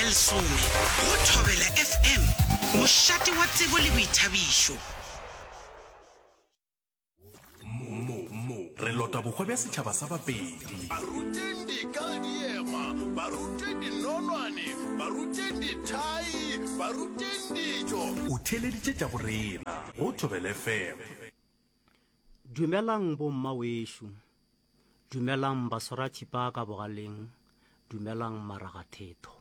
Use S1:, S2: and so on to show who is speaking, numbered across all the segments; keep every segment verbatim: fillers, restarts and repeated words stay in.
S1: lesome go Thobela F M, mošate wa tsebo le boithabišo.
S2: Mo, mo, re lota bohwa bja setšhaba sa Bapedi.
S3: Ba ruteng dika le diema, ba ruteng dinonwane, ba ruteng dithai, ba ruteng ditšo.
S2: O theeleditše tša borena go Thobela F M.
S4: Dumelang bomma wešo, dumelang baswarathipa ka bogaleng, dumelang maragathetho.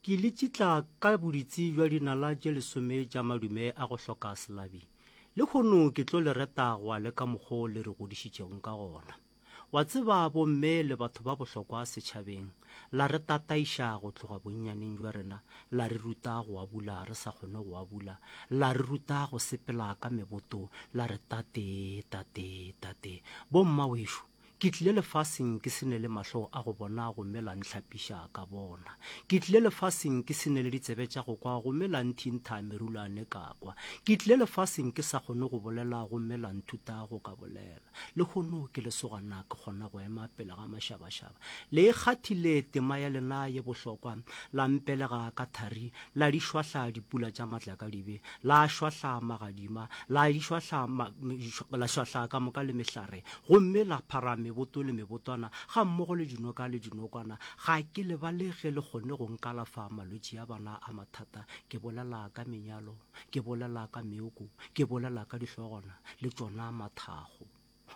S4: Ke le tšitla ka boditsi bja dinala tše lesome tša madume a go hloka selabi. Lehono ke tlo le reta go ya le ka mokgo le re godišitšego ka gona. Wa tseba bomme le batho ba bohlokwa setšhabeng, la re tataiša go tloga bonnyaneng bja rena, la re ruta go abula re sa kgone go abula, la re ruta go sepela ka meboto, la re tate, tate, tate. Bomma wešo, ke tlile lefaseng ke se ne le mahlo a go bona gomme la ntlhapiša ka bona. Ke tlile lefaseng ke se ne le ditsebe tša go kwa gomme la nthintha merulwane ka kwa. Ke tlile lefaseng ke sa kgone go bolela gomme la nthuta go ka bolela. Lehono ke lesogana ke kgona go ema pele ga mašabašaba. Le e kgathile tema ya lena ye bohlokwa, la mpelega ka thari, la di šwahla dipula tša matlakadibe, la šwahla magadima, la di šwahla ma, la šwahla ka moka le mehlare, gomme la phara meboto le mebotwana ga mmogo le dinoka le dinokwana. Ga ke lebale ge le kgonne go nkalafa malwetši a bana a mathata. Ke bolela ka menyalo, ke bolela ka meoko, ke bolela ka dihlogwana le tšona mathago.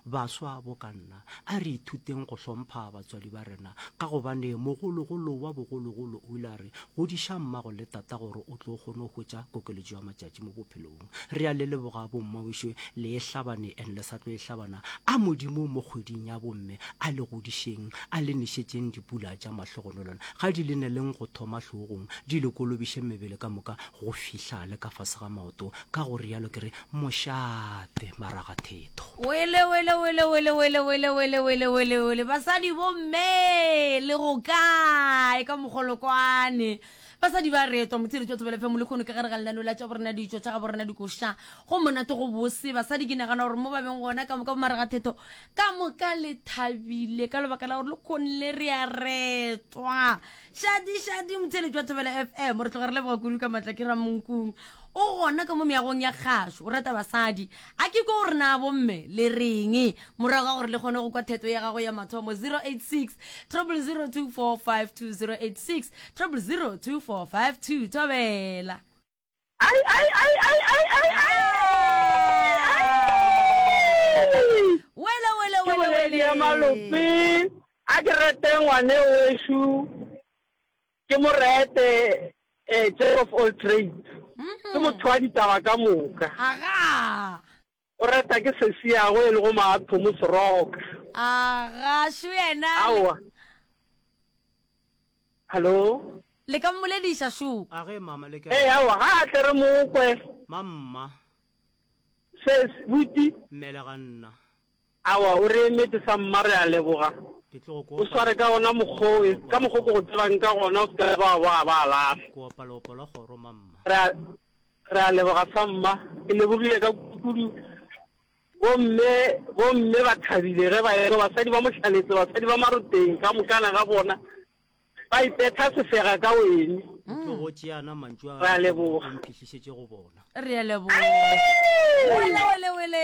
S4: Baswa bo ka nna, a re ithuteng go hlompha batswadi ba rena, ka gobane mogologolo wa bogologolo o ile a re godiša mmago le tata gore o tlo kgone go hwetša kokeletšo ya matšatši mo bophelong. Re a le leboga bommawišo, le e hlabane and le sa tlo e hlabana. A Modimo mo kgweding ya bomme a le godišeng, a le nešetšeng dipula tša mahlogonolona, ga di le neleng go thoma hlogong, di le kolobiše mebele ka moka go fihla le ka fase ga maoto. Ka go rialo ke re mošate maragathetho.
S5: Wele wele wele wele wele wele wele wele wele wele, basadi bomme le go kae ka mogolokwane? Basadi ba retwa motshiretso wa Thobela F M lekgono ka gare ga lenaneo la tša borena ditšo tša ga borena dikoša. Go monate go bose basadi, ke nagana gore mo ba beng gona ka moka bomarega thetho ka moka le thabile ka lebaka la gore le kgonle re a retwa. Shadi shadi motshiretso wa Thobela F M, re tloga re leboga kudu ka maatla ke Ramonkung o gona ka mo meagong ya kgašo, o rata basadi. A ke ko gore na bomme le reng morago ga gore le kgone go kwa theto ya gago ya mathomo? zero eight six zero zero two four five two, zero eight six zero zero two four five two. Thobela.
S6: Ai ai ai ai ai ai ai.
S5: Wele wele
S6: Ke
S5: wele.
S6: Boledi ya
S5: Wele.
S6: Malope. A ke rete ngwane wešo, ke mo rete eh, jack of all trades. Ke motho wa ditaba ka moka.
S5: Aga.
S6: O reta ke sesiago e lego Maathomo Seroka.
S5: Aga šo yena.
S6: Aowa. Hallo.
S5: Le ka mmolediša šo.
S4: A ge mama le
S6: Ee, aowa, ga a tle re mokwe.
S4: Mamma.
S6: Ses, buti.
S4: Mmelega nna.
S6: Aowa, o re emetse sa mma, re a leboga.
S4: Ke tlo go
S6: O sware ka gona mokgwa o, ka mokgwa o ke go tsebang ka gona, o se ka ba wa ba lahla.
S4: Ke opa leopo la kgoro mamma.
S6: Re a re a leboga sa mma. Ke lebogile ka kudu. Bomme bomme ba thabile ge ba ekwa basadi ba Mohlaletse, basadi ba Maroteng ka mokana ga bona ba ipetha sefega ka wene.
S4: O tlo go tšeana mantšu a
S6: Re a leboga.
S4: o mphihlišetše go bona.
S5: Re a leboga. Wele wele wele,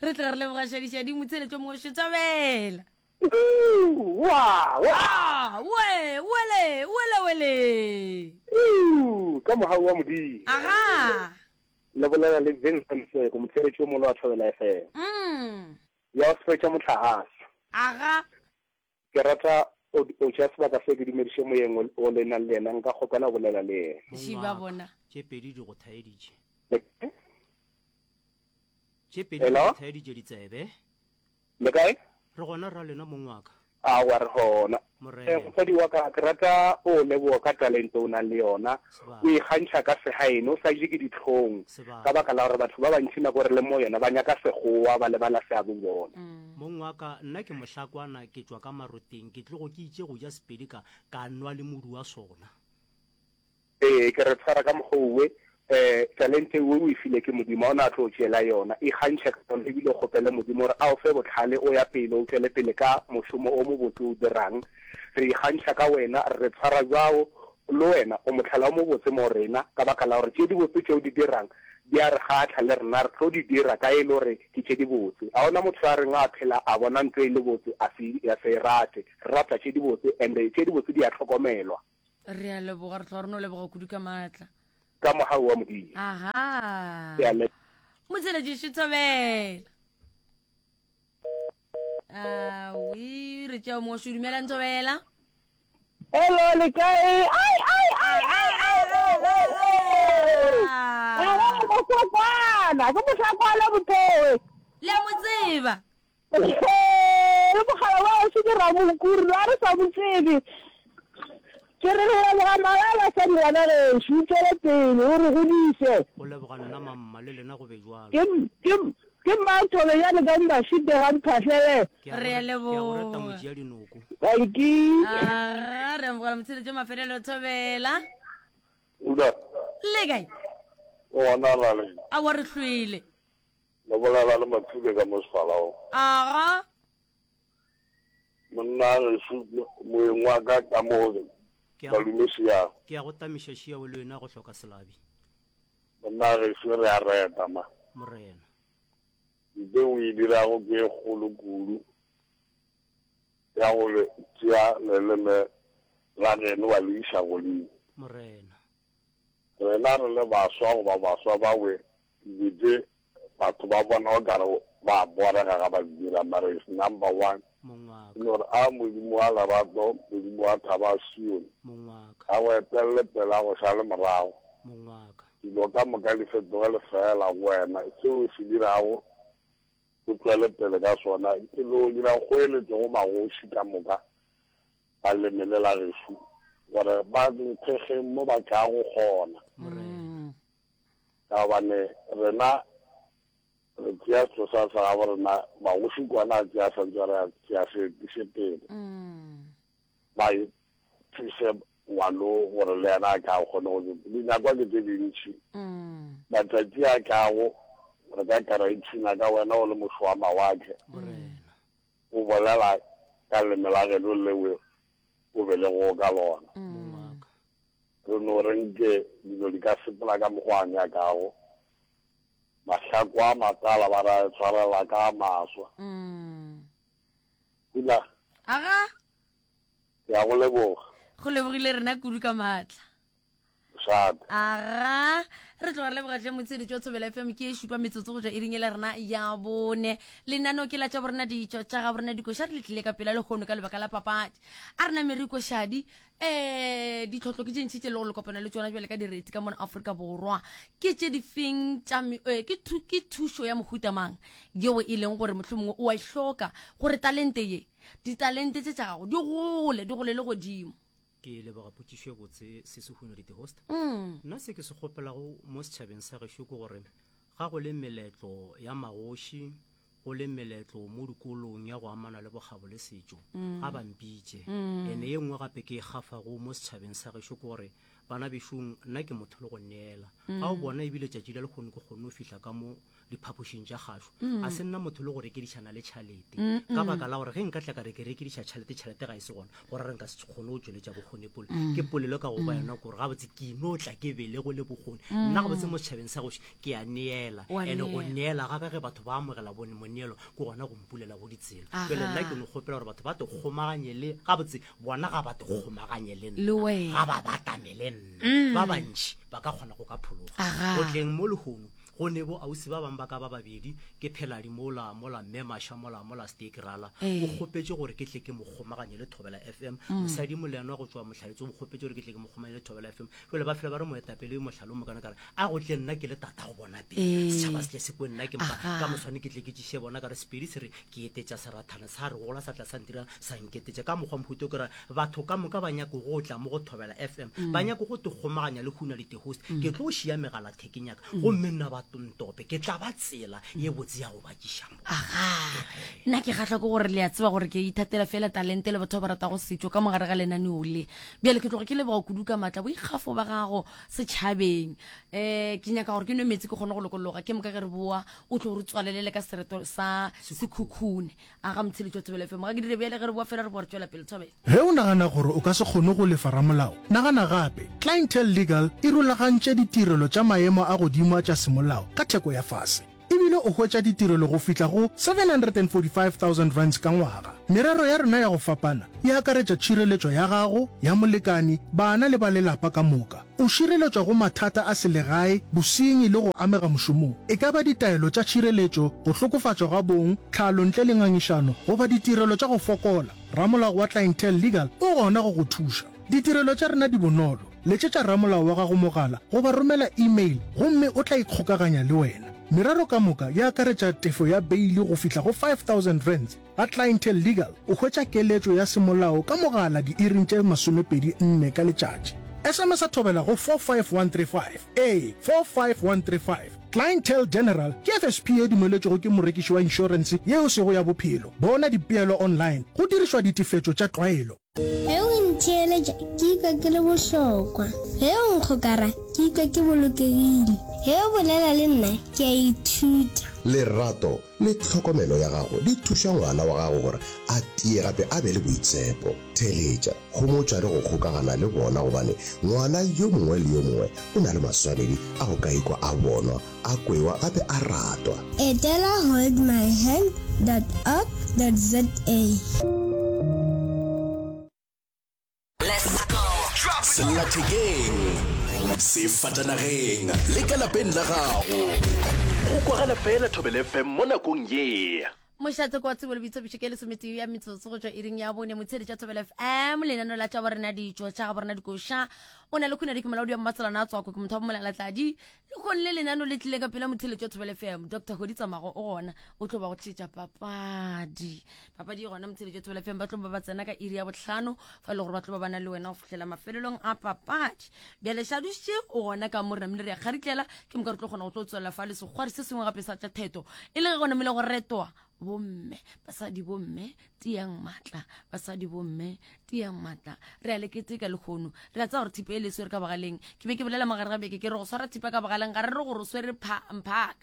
S5: re tloga re leboga šadišadi motsheletšo mongwe. Thobela.
S6: Wa wa.
S5: Ah, we wele wele wele.
S7: Ka mogau wa Modimo.
S5: Aga.
S7: Le bolela le Vincent Seko, motheeletši o molo wa Thobela F M.
S5: Mm
S7: ya go fetša mohlagase.
S5: Aga.
S7: Ke rata o o tšea sebaka se ke dumediše moyeng o- o le nang le yena, nka kgopela go bolela le yena.
S5: Šiba bona.
S4: Tše pedi di go thaeditše.
S7: Le
S4: Tše pedi di
S7: Hello?
S4: go thaeditše ditsebe.
S7: Le kae?
S4: Re gona ra lena mong wa ka.
S7: Aowa, re gona.
S4: Morena.
S7: Eh, mosadi wa ka, ke rata o leboga ka talente o nang le yona.
S4: Sebaka.
S7: O ikgantšha ka segaeno, o sa je ke ditlhong.
S4: Sebaka.
S7: Ka baka la gore batho ba bantši nako re le mo yona ba nyaka sekgowa, ba lebala seabo bona.
S4: Mong wa ka, nna ke mohlakwana, ke tšwa ka Maroteng, ke tlogo ke itše go ja Sepedi ka ka nwa le modu wa sona.
S7: Ee, ke re tshwara ka mokgwa owe, um talente o o e file ke Modimo, ga o na tlo tšeela yona. Ikgantšhe ka yona ebile o kgopele Modimo gore a o fe bohlale o ya pele, o tšwele pele ka mošomo o mobotse o dirang. Re ikgantšha ka wena, re re tshwara bjao, le wena o mohlala o mobotse mo rena, ka baka la gore tše dibotse tše o di dirang di a re kgahla, le rena re tlo di dira ka e le gore ke tše dibotse. Ga go na motho yo a reng a phela a bona ntho e le botse a se, a se e rate. Re rata tše dibotse and tše dibotse di a hlokomelwa.
S5: Re a leboga, re tloga re no leboga kudu ka maatla.
S7: Ka mogau wa Modimo.
S5: Aha.
S7: Ke a leboga.
S5: Motšheletši Thobela. Awi, re tšea mongwe šo. Dumela Thobela.
S8: Hello, le kae? Ai, ai, ai, ai, ai, ai, ai, ai.
S5: Ah.
S8: Mohlakwana, ke mohlakwana Mothowe.
S5: Le a mo tseba.
S8: Le mogala wa gešo ke Ramokuri, la re sa mo tsebe. Ke re re leboga malala sa ngwana gešo, o tšwele pele o re godiše.
S4: Go leboga nna mamma, le lena go be jwalo.
S8: Ke ke ke Mmathobejane ka Mmašite ga Mphahlele.
S4: Ke a
S5: Re a
S4: go re- ke a go reta
S5: leboga.
S4: ngwetši ya dinoko.
S8: Dankie.
S5: Aga, re amogela motsheletšo mafelelo Thobela.
S9: Uda,
S5: Le kae?
S9: o gona rale.
S5: Aowa re hlwele.
S9: Le bolela le Mathuke ka mo Sefalao.
S5: Aga.
S9: Monna gešo moeng wa ka ka mo
S4: Ke a go,
S9: Malume Šiago.
S4: ke a go tamiša Šiago le wena go hloka selabi.
S9: Monna gešo re a reta ma.
S4: Morena.
S9: Nte o e dirago ke e kgolo kudu ya go le tšea leleme la geno wa le iša godimo.
S4: Morena.
S9: Rena re le baswa goba baswa ba we dilo tše batho ba bona o kare ba borega ga ba di dira, mara is number one.
S4: Mongwaka.
S9: Ke no re a Modimo wa lerato, Modimo wa thaba ya Sione,
S4: Mongwaka.
S9: a go etelele pele a go šale morago.
S4: Mongwaka.
S9: Dilo ka moka di fetoge lefeela go wena, seo o se dirago o tšwele pele ka sona. Ke no dira kgoeletšo go magoši ka moka ba leme le la gešo gore ba nthekgeng mo ba tlago gona.
S4: Morena.
S9: Ka gobane rena re tšea setho sa sa gabo rena, magoši kwana a tšea santse re a tšea se etiše pele. Ba thuse ngwano gore le yena a ka kgone go dinyakwa ke tše dintši. Matšatši a tlago re ka ka ra ipshina ka wena o le mošo wa mawatle.
S4: Morena.
S9: O bolela ka leme la geno lewe o belegego ka lona.
S4: Mongwaka.
S9: Re no re nke dilo di ka sepela ka mokgwa a nyakago. Mahlako a matala ba ra tshwarela ka maswa. Pula.
S5: Aga.
S9: Ke a go leboga.
S5: Go lebogile rena kudu ka maatla.
S9: Mošate.
S5: Aga, re tloga re leboga tle motsheletši wa Thobela F M ke e šupa metsotso go tšwa iring e le rena ya bone. Lenaneo ke la tša borena ditšo tša ga borena dikoša re le tlile ka pela lehono ka lebaka la papadi. A rena merikošadi, eh, ditlhotlo ke tše ntši tše le go le kopana le tšona bjale ka direti ka mona Afrika Borwa. Ke tše difeng tša me-, eh, ke thu-, ke thušo ya mohuta mang yeo e leng gore mohlomongwe o a e hloka gore talente ye, ditalente tše tša gago di gole, di golele godimo.
S4: Ke leboga potšišo e botse se se huno di host.
S5: Mm.
S4: Nna se ke se kgopelago mo setšhabeng sa gešo ke gore ga go le meletlo ya magoši, go le meletlo mo dikolong ya go amana le bokgabo le setšo,
S5: Mm.
S4: ga ba mpitše.
S5: Mm.
S4: Ene ye nngwe gape ke e gafago mo setšhabeng sa gešo ke gore bana bešong nna ke motho le go neela.
S5: Mm.
S4: Ga o bona ebile tšatši la lekgono ke kgonne go fihla ka mo diphapošing tša kgašo.
S5: Mm.
S4: A se nna motho le go rekedišana le tšhalete.
S5: Mm,
S4: Ka
S5: mm.
S4: baka la gore ge nka tla ka re ke rekediša tšhalete, tšhalete ga e se gona, gore re nka se kgone go tšweletša bokgoni pole.
S5: Mm.
S4: Ke polelo ka go ba
S5: Mm.
S4: yona gore gabotse ke ino tla ke belego le bokgoni.
S5: Mm.
S4: Nna gabotse mo setšhabeng sa goše ke a neela.
S5: Wa
S4: Ene go
S5: neela.
S4: neela ga ka ge batho ba amogela bone moneelo, ke gona go mpulela go ditsela.
S5: Aha.
S4: Jwale nna ke no kgopela gore batho ba te kgomaganye le, gabotse bona ga ba te kgomaganye le nna.
S5: Le wena.
S4: Ga ba batamele nna.
S5: Mm.
S4: Ba bantši ba ka kgona go ka phologa.
S5: Aha.
S4: Go tleng mo lehono, go ne bo ausi ba bang ba ka ba babedi, ke pheladi mola, mola mme Masha, mola, mola Steak Rala.
S5: Eh.
S4: O kgopetše gore ke tle ke mo kgomaganye le Thobela F M.
S5: Mm.
S4: Mosadi Moleno wa go tšwa Mohlaletse o kgopetše gore ke tle ke mo kgomaganye le Thobela F M. Jwale ba fela ba re moetapele yo mohlalo mo kana ka re, a go tle nna ke le tata go bona pele.
S5: Eh.
S4: Setšhaba se tle se kwe nna ke mpa,
S5: Aha.
S4: ka moswane ke tle ke tšiše bona ka re Sepedi se re ke etetša serathana sa re gola sa tla sa ntira sa nketetša. Ka mokgwa mohuta o ke re batho ka moka ba nyako go tla mo go Thobela F M.
S5: Mm.
S4: Ba nyako go te kgomaganya le Huna le te host.
S5: Mm.
S4: Ke tlo šia megala thekeng ya ka.
S5: Mm.
S4: Gomme nna ba ntope ke tla ba tsela ye botse ya go ba tšiša mo.
S5: Aga, nna ke kgahlwa ke gore le a tseba gore ke ithatela fela talente le batho ba ba ratago setšo ka mogare ga lenaneo le. Bjale ke tloga ke leboga kudu ka maatla boikgafo ba gago setšhabeng. Um ke nyaka gore ke nwe meetse ke kgone go lokologa, ke moka ge re boa o tlo re tswalelele ka sereto sa Sekhukhune. Aga motheeletši wa Thobela F M, ga ke dire bjale ge re boa fela re boa re tšwela pele. Thobela.
S10: Ge o nagana gore o ka se kgone go lefa ramolao, nagana gape. Clientele Legal e rulagantše ditirelo tša maemo a godimo a tša semolao ka theko ya fase. E bile o hwetša ditirelo go fihla go seven hundred and forty five thousand rands ka ngwaga. Merero ya rena ya go fapana e akaretša tšhireletšo ya gago, ya molekani, bana le ba lelapa ka moka. O šireletšwa go mathata a selegae, bosenyi le go amega mošomong. E ka ba ditaelo tša tšhireletšo, go hlokofatšwa ga bong, tlhalo ntle le ngangišano, goba ditirelo tša go fokola, ramolao wa Clientele Legal o gona go go thuša. Ditirelo tša rena di bonolo. Letšetša ramolao wa gago mogala goba romela email gomme o tla ikgokaganya le wena. Merero ka moka e akaretša tefo ya beili go fihla go five thousand rands. Ga Clientele Legal o hwetša keletšo ya semolao ka mogala diiring tše masomepedi nne ka letšatši. S M S a thobela go four five one three five. Ee, four five one three five. Clientele General ke F S P ye dumeletšwego ke morekiši wa inšorense ye e sego ya bophelo. Bona dipeelo online go dirišwa ditefetšo tša tlwaelo.
S11: Ge o ntheeletša, ke ikwa ke le bohlokwa. Ge o nkgokara, ke ikwa ke bolokegile. Ge o bolela le nna, ke a ithuta.
S12: Lerato le tlhokomelo ya gago di thuša ngwana wa gago gore a tie gape a be le boitshepo. Theeletša, homotša le go kgokagana le bona gobane ngwana yo mongwe le yo mongwe o na le maswanedi a go ka ikwa a bonwa, a kwewa gape a ratwa.
S11: Etela hold my hand dot org dot za.
S2: Sellathekeng, sefatanageng le ka lapeng la gago. Go kwagala fela Thobela F M mo nakong ye.
S5: Mošate kwa tsebo le boithabišo ke lesometee ya metsotso go tšwa iring ya bone motheeletši wa Thobela F M lenaneo la tša borena ditšo tša ga borena dikoša o na le khunadi ke molaodi wa mmatsalana a tswako ke motho wa bomolalatladi le kgone le lenaneo le tlile ka pela motheeletši wa Thobela F M Doctor Hodi Tsamago o gona o tlo ba go tšetša papadi papadi e gona motheeletši wa Thobela F M ba tlo ba ba tsena ka iri ya bohlano fa e le gore ba tlo ba ba na le wena go fihlela mafelelong a papadi bjale Šaduše o gona ka mo re namile re ya kgaritlela ke moka re tlo kgona go tlo tswelela fa le sekgwari se sengwe gape sa tša theto e le ge go namile go retoa bomme basadi bomme tiang matla basadi bomme tiang matla re a le keteka lehono re a tseba gore thipa e le swere ka bogaleng ke be ke bolela mogare ga beke ke re go swara thipa ka bogaleng ga re re gore o swere mphaka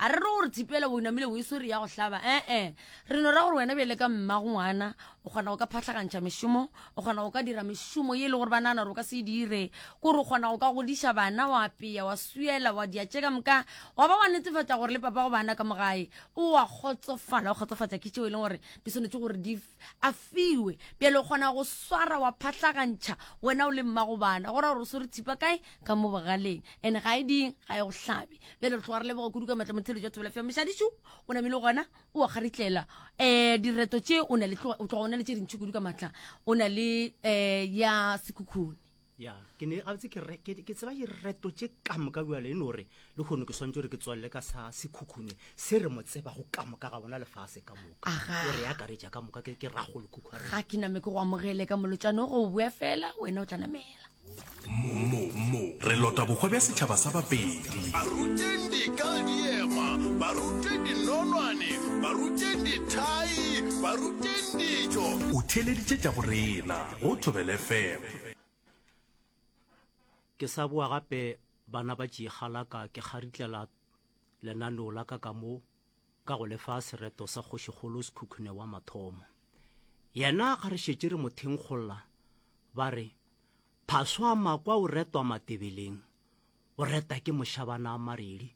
S5: a re re gore thipa ela o namile o e swere ya go hlaba ee re no ra gore wena bjale ka mmago ngwana o kgona go ka phahlagantšha mešomo o kgona go ka dira mešomo ye e le gore ba nagana gore o ka se e dire kore o kgona go ka godiša bana wa apeya wa swiela wa dia tše ka moka wa ba wa netefatša gore le papa go bana ka mo gae o a kgotsofala o kgotsofatša ke tšeo e leng gore di swanetše gore di a fiwe bjale o kgona go swara wa phahlagantšha wena o le mmago bana go ra gore o swere thipa kae ka mo bogaleng and ga e ding ga e go hlabe bjale re tloga re leboga kudu ka matla motheeletši wa Thobela F M Mošadišu o namile gona o a kgaritlela um direto tše o na le o tloga o na le tše dintši kudu ka matla o na le um ya Sekhukhune
S4: ya ke ne gabotse ke re ke tseba direto tše ka moka bjale e no re le kgono ke swantse gore ke tswalele ka sa Sekhukhune se re mo tsebago ka moka ga bona lefase ka moka o re akaretša ka moka ke ke ragolo khukhu
S5: ga ke name ke go amogele ka molotšano go bua fela wena o tla namela
S2: mo mo re lota bohwa bja setšhaba sa Bapedi
S3: ba ruteng dika diema ba ruteng dinonwane ba ruteng dithai ba ruteng dijo
S2: o theeleditše tša borena go Thobela F M
S4: ke sa boa gape bana ba tšegalaka ke kgaritlela lenaneo la ka ka mo ka go lefa sereto sa kgošikgolo Sekhukhune wa mathomo yena ga re šetše re mo thenkgolla ba re phaswa makwa o retwa matebeleng o reta ke mošabana a maredi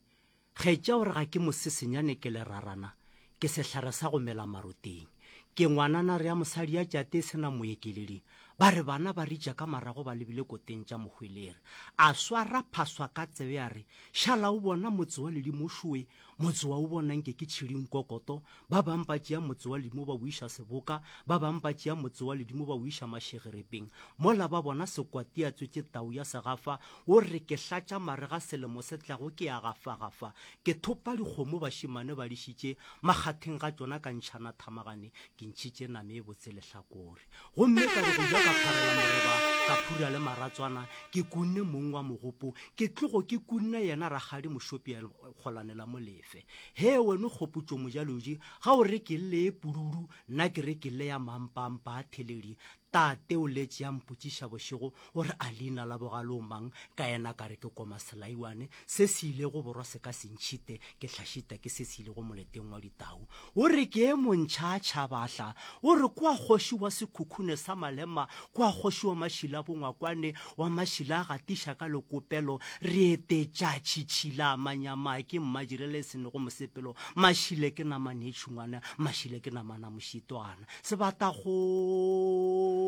S4: kgetša o re ga ke mosesenyane ke lerarana ke sehlare sa go mela maroteng ke ngwanana re ya mosadi ya tšate se na moekeledi ba re bana ba ritša ka marago ba lebile koteng tša mohwelere a swara phaswa ka tsebe a re šala o bona motse wa ledimo šoe motse wa o bona nke ke tšhiding kokoto ba bang ba tšea motse wa ledimo ba o iša seboka ba bang ba tšea motse wa ledimo ba o iša mašegerepeng mola ba bona sekwati a tswetše tau ya segafa o re ke hlatša marega selemo se tlago ke ya gafagafa ke thopa dikgomo bašimane ba dišitše makgatheng ga tšona ka ntšhana thamagane ke ntšhitše name e botse lehlakore gomme ka re go ja ka pharela moreba ka phura makhura le maratswana, ke kunne mong wa mogopo, ke tlogo ke kunne yena rakgadi Mošopi a kgolane la Molefe. Hee wena Kgopotšo Mojaloji, ga o re ke lle ye pududu, nna ke re ke lle ya mampampa a theledi. Tate o letše a mpotšiša bošego o re a leina la bogale o mang, ka yena ka re ke koma selaiwane, se se ilego borwa se ka se ntšhite, ke hlašita ke se se ilego moleteng wa ditau. O re ke e montšha tšhabahla, o re kwa kgoši wa sekhukhune sa malema, kwa kgoši wa mašila bongwakwane, wa mašila a gatiša ka lekopelo, re etetša tšhitšhila manyama ke mmadirele e senego mosepelo, mašile ke namane e tšhungwana, mašile ke namana mošitwana. Sebatakgomo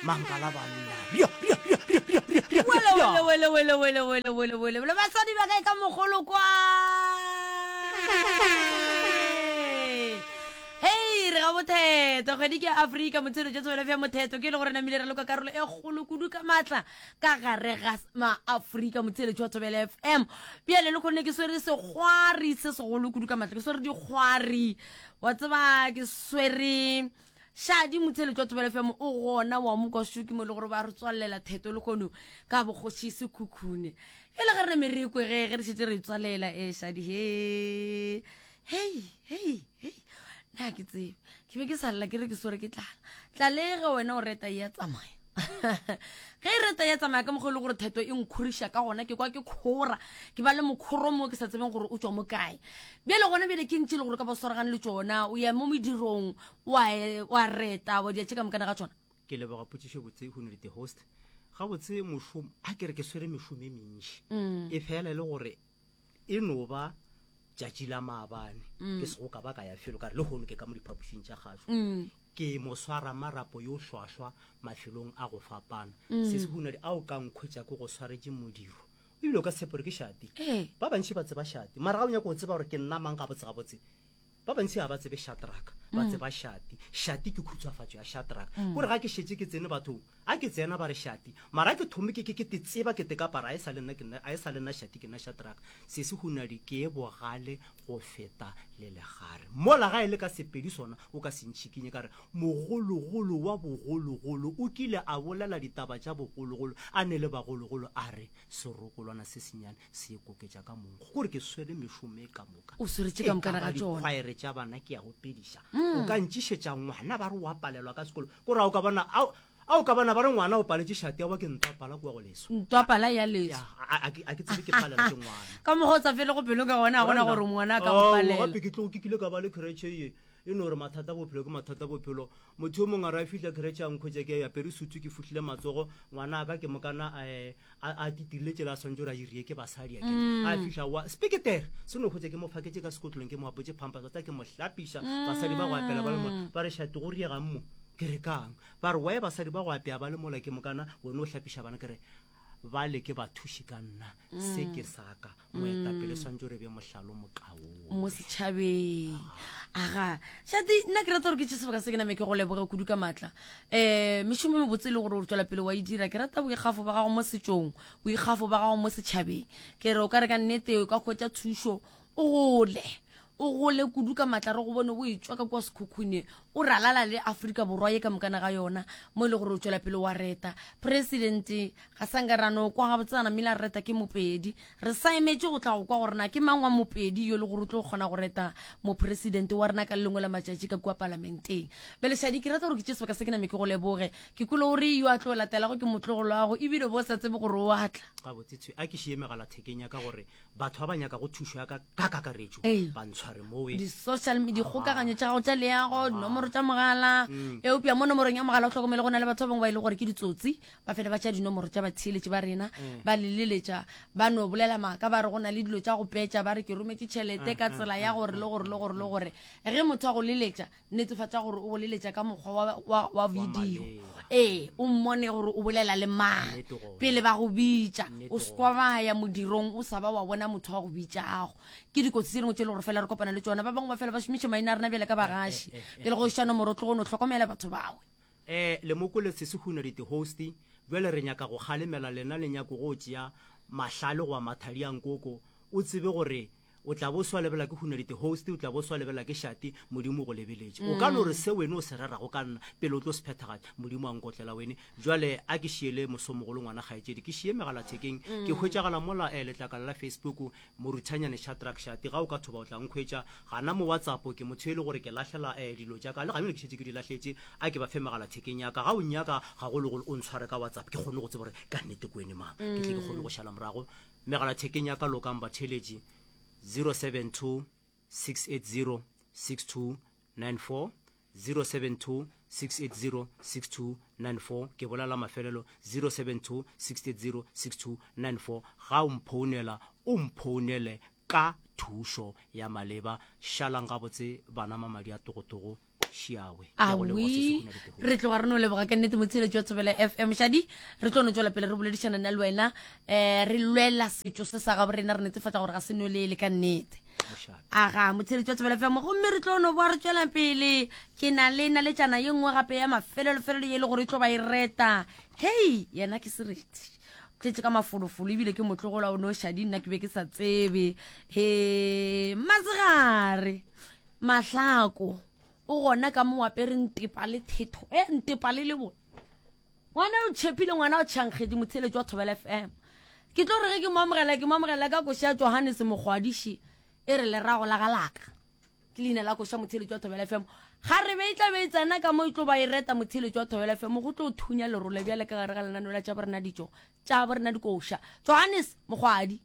S4: mangala banna ria ria ria ria ria ria ria
S5: Wele,
S4: ria
S5: wele, wele, wele, wele, wele, wele, wele, wele. Basadi ba kae ka mogolo kwa? Hei, re ga botheto kgwedi ke Afrika motshelo tša tswele fya motheto ke e le gore namile re loka karolo e kgolo kudu ka maatla ka gare ga maafrika motheletši wa Thobela F M. Bjale le kgonne ke swere sekgwari se segolo kudu ka maatla, ke swere dikgwari, wa tseba ke swere Shadi motheletši wa Thobela F M o gona wa mo kwa Shuki mo e le gore ba re tswalela theto le kgono ka bogoši Sekhukhune. E le ge re ne merekwe ge ge re šetše re tswalela e Shadi he hei hei hei na ke tsebe ke be ke sa lla ke re ke swere ke tlala tlale ge wena o reta ya tsamaya ge e reta ya tsamaya ka mokgwa e le gore theto e nkhoriša ka gona ke kwa ke khora ke ba le mokhoro mo ke sa tsebeng gore o tswa mo kae. Bjale gona bjale ke ntše le gore ka ba swaragane le tšona o ya mo medirong wa e, wa reta wa dia tše ka mokana ga tšona.
S4: Ke leboga potšišo botse go the host. Gabotse mošomo a ke re ke swere mešomo e mentši
S5: Mm.
S4: e fela e le gore e no ba tšatši la maabane
S5: Mm.
S4: ke sego ka ba ka ya felo ka re le kgono ke ka mo diphapošing tša gašo
S5: Mm.
S4: ke mo swara marapo yo hlwahlwa mafelong a go fapana.
S5: Mm.
S4: Se se hunadi ao ka nkhwetša ke go swaretše modiro ebile o ka tshepo gore ke Shadi.
S5: Ee.
S4: Ba bantši ba tseba Shadi mara ga o nyaka go tseba gore ke nna mang gabotse gabotse ba bantši ga ba tsebe Shadrack ba
S5: Mm.
S4: tseba Shadi. Shadi ke khutshwafatšo ya Shadrack
S5: Mm.
S4: kore ga ke šetše ke tsene bathong a ke tsena ba re Shadi mara ke thome ke ke ke te tseba ke te ka para a e sa le nna ke nna a e sa le nna Shadi ke nna Shadrack. Se se hunadi ke e bogale go feta le legare mola ga e le ka sepedi sona o ka se ntšhikinye ka re mogologolo wa bogologolo o kile a bolela ditaba tša bogologolo a ne le bagologolo a re serokolwana se senyane se ikoketša ka monkgo kore ke swere mešomo e ka moka
S5: O sweretše ka mokana ga tšona.
S4: dikgwaere tša bana ke ya go pediša
S5: Mm.
S4: o ka ntšišetša ngwana ba re o a palelwa ka sekolo kore a o ka bona ao a o ka bona ba re ngwana o paletše šate wa ke ntwa pala kua go leso
S5: Ntwa pala ya leso.
S4: Ya, a, a, a ke tsebe ke palela ke ngwana
S5: Ka mokgwa o sa fele go pelo ka gona, ga gona gore ngwana a ka go
S4: Ao,
S5: palela.
S4: gape ke tlo ke kile ka ba le creche ye e no gore mathata a bophelo ke mathata a bophelo. Motho yo mongwe a re a fihla creche a nkhwetša ke apere sutu ke fuhlile matsogo ngwana a ka ke mokana a, a, a titirile tsela a swantse gore a irie ke basadi a kere.
S5: Mm.
S4: A fihla wa speketere se no hwetša ke mo faketše ka sekotlong ke mo apotše pampas tsa ke mo hlapiša basadi ba go apela ba le mo
S5: Mm.
S4: ba re šate go riegang mo ke re kang ba re wae basadi ba go apea ba le mola ke mokana wena o hlapiša bana ke re ba le ke bathuši ka nna se
S5: Mm.
S4: ke saka moetapele
S5: Mm.
S4: swantse re be mohlalo mokaone
S5: mo setšhabeng. Aga Shadi nna ke rata gore ke tše sebaka se ke name ke go leboge kudu ka maatla. Um mešomo e mebotse e le gore o tswela pele wa e dira ke rata boikgafo ba gago mo setšong boikgafo ba gago mo setšhabeng. Ke re o ka re ka nnete o ka hwetša thušo o gole o gole kudu ka maatla re go bone o etšwa ka kwa Sekhukhune o ralala le Afrika Borwa ye ka mokana ga yona mo e le gore o tswela pele wa reta. President ga sa nka ra no kwa gabotse a namile a reta ke Mopedi re sa emetše go tla go kwa gore na ke mang wa Mopedi yo le gore o tlo kgona go reta mopresidente wa rena ka le lengwe la matšatši ka kua palamenteng. Bjale Shadi ke rata gore ke tše sebaka se ke name ke go leboge ke kwele gore yo a tlo latelago ke motlogolo wa gago ebile bo sa tsebe gore o a tla.
S4: Gabotse tshwe a ke šie megalathekeng ya ka gore batho ba ba nyaka go thušo ya ka ka kakaretšo
S5: Ee.
S4: ba ntshware mowe.
S5: Di-social media dikgokaganyo tša gago tša leago dinomoro tša mogala
S4: Mm.
S5: eupša mo nomorong ya mogala o tlhokomele go na le batho ba bangwe ba e le gore ke ditsotsi ba fele ba tšea dinomoro tša batheeletši ba rena
S4: Mm.
S5: ba leleletša ba no bolela maaka ba re go na le dilo tša go petša ba re ke rometše tšhelete
S4: Mm,
S5: ka
S4: mm,
S5: tsela ya
S4: mm,
S5: gore le
S4: mm,
S5: gore le
S4: mm,
S5: gore le
S4: mm.
S5: gore ge motho a go leletša netefatša gore o go leletša ka mokgwa wa, wa, wa
S4: Wa
S5: video
S4: maleba.
S5: ee o mmone gore o bolela le mang
S4: Nnete gona.
S5: pele ba go bitša
S4: Nnete
S5: o se kwa ba ya modirong o sa ba wa bona motho wa go bitšago. Ke dikotsi tse dingwe tše e le gore fela re kopana le tšona ba bangwe ba fela ba šomiša maina a rena bjale ka bagaši
S4: Eh, eh, eh,
S5: pele go iša nomoro tlogo no hlokomela batho bawe.
S4: Eh le mokole se se huna di host bjale re nyaka go kgalemela lena le nyako go tšea mahlale goba mathadi a nkoko o tsebe gore O tla bo swa lebela ke hunadite host, o tla bo swa lebela ke Shati, Modimo o go lebeletše. O ka no re se wene o se rerago ka nna, pele o tlo se phethagatša, Modimo a nkotlela wene. Bjale a ke šiele mosomogolo ngwana kgaetšedi, ke šie megalathekeng, ke hwetšagala mola eh, letlakala la Facebook, Moruthanyane Shadrack Shati, ga o ka thoba o tla nkhwetša. Gana mo WhatsApp, ke motho e le gore ke lahlela eh, dilo tša ka, le gabjale ke šetše ke di lahletše, a ke ba fe megalathekeng ya ka. Ga o nnyaka gagologolo o ntshware ka WhatsApp, ke kgone go tseba gore ka nnete ke wene mang, ke tle ke kgone go šala morago. Megalathekeng ya ka lokang batheeletši, zero seven two six eight zero six two nine four, zero seven two six eight zero six two nine four. Ke bolela mafelelo, zero seven two six eight zero six two nine four. Ga o mphounela, o mphounele ka thušo ya maleba. Šalang gabotse bana mamadi a togotogo. Šiawe.
S5: Awi, re tloga re no leboga ka nnete motsheletši wa Thobela F M. Shadi, re tlo no tšwela pele re boledišana nna le wena, um re lwela setšo se sa gabo rena, re netefatša gore ga se nwelele ka nnete. Aga motsheletši wa Thobela F M, gomme re tlo no boa re tšwela pele. Ke na le naletšana ye nngwe gape ya mafelelo-felelo ye e le gore e tlo ba e reta. Hei, yena ke sereti, tletše ka mafolofolo ebile ke motlogolo o no Shadi, nna ke be ke sa tsebe. He, masegare mahlako o gona ka mo apere ntepa le thetho e ntepa le lebo ngwana o tšhepile, ngwana o tšhankgedi. Motsheletši wa Thobela F M, ke tlo re ge ke mo amogela, ke mo amogela ka koša ya Johannes Mokgwadiši e re lerago la galaka ke leina la koša. Motsheletši wa Thobela F M, ga re be e tla be e tsena ka mo e tlo ba e reta. Motsheletši wa Thobela F M, go tlo thunya lerole bjale ka gare ga lenaneo la tša borena ditšo tša borena dikoša. Johannes Mokgwadi.